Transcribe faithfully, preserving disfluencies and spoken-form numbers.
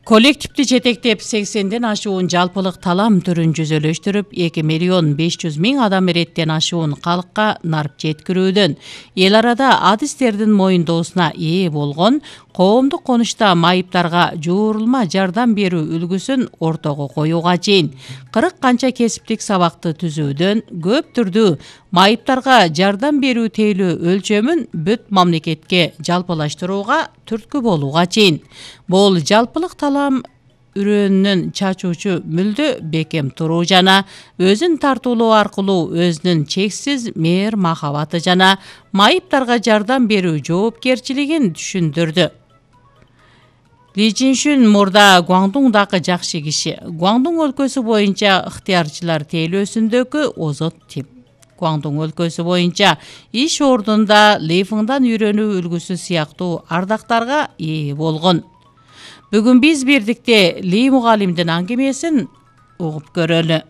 Коллективди жетектеп сексенден ашуун жалпылык талам түрүн жүзөлөштүрүп, эки миллион беш жүз миң адам эреттен ашуун калкка нарп жеткирүүдөн, эл арада адистердин моюндоосуна ээ болгон коомдук конушта майыптарга жуурулма жардам берүү үлгүсүн ортого коюуга чейин кырк канча кесиптик сабакты түзүүдөн көп түрдүү майыптарга жардам берүү тейлөө өлчөмүн бүт мамлекетке жалпылаштырууга түрткү болууга чейин. Бул жалпылык талам үрөөнүн чачуучу мүлдө бекем туруу жана өзүн тартуулоо аркылуу өзүнүн чексиз мээр махабаты жана майыптарга жардам берүү жоопкерчилигин түшүндүрдү. Ли Чжиншүн мурда Гуандуңдагы жакшы киши, Гуандуң өлкөсү боюнча ыктыярчылар тейлөөсүндөгү озот тип. Гуандуң өлкөсү боюнча иш ордунда Лифыңдан үйрөнүү үлгүсү сыяктуу ардактарга ээ болгон. Бүгүн биз бирдикте Ли мугалимдин аңгемесин угуп көрөлү.